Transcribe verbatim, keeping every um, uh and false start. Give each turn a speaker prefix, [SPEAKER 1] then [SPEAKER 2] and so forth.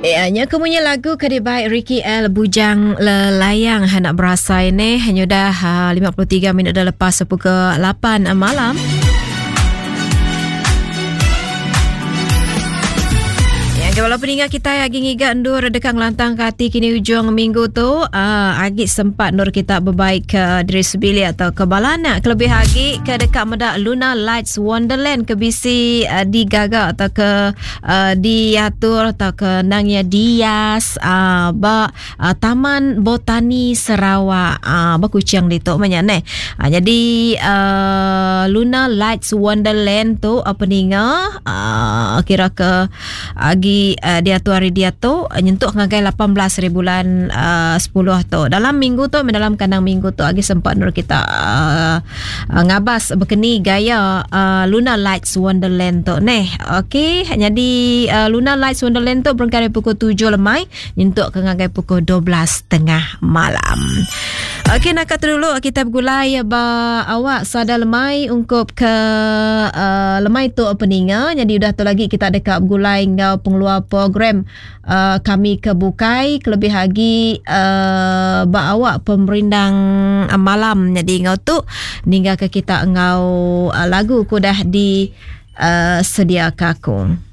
[SPEAKER 1] Ya, nya kemunya lagu ke dibaik Ricky L Bujang Lelayang nak berasa ini hanya dah lima puluh tiga minit dah lepas pukul lapan malam. Walaupun ingat kita lagi ngiga ndur dekat ngelantang ke hati kini ujung minggu tu, uh, agi sempat nur kita berbaik ke diri sebili atau ke balana kelebih lagi ke dekat medak Luna Lights Wonderland ke bisi uh, digaga atau ke uh, diatur atau ke nangya dias uh, ba uh, Taman Botani Sarawak uh, ba Kuching ditu banyak neh. Uh, jadi uh, Luna Lights Wonderland tu apa ninga uh, kira ke agi Uh, dia tu hari dia tu nyentuh ngagai lapan belas hari bulan uh, sepuluh tu. Dalam minggu tu, dalam kandang minggu tu agi sempat nur kita uh, uh, ngabas berkeni gaya uh, Luna Lights Wonderland tu neh. Okey, jadi uh, Luna Lights Wonderland tu berangkat dari pukul tujuh lemai nyentuh ke ngagai pukul dua belas tengah malam. Okey, nak kata dulu kita bergulai ba awak sada lemai ungkup ke uh, lemai tu peninga. Jadi udah tu lagi kita dekat bergulai ngau pengeluar program uh, kami ke Bukai kelebih lagi uh, ba awak pemerindang uh, malam. Jadi ngau tu ninggal ke kita ngau uh, lagu ku dah di uh, sedia kaku.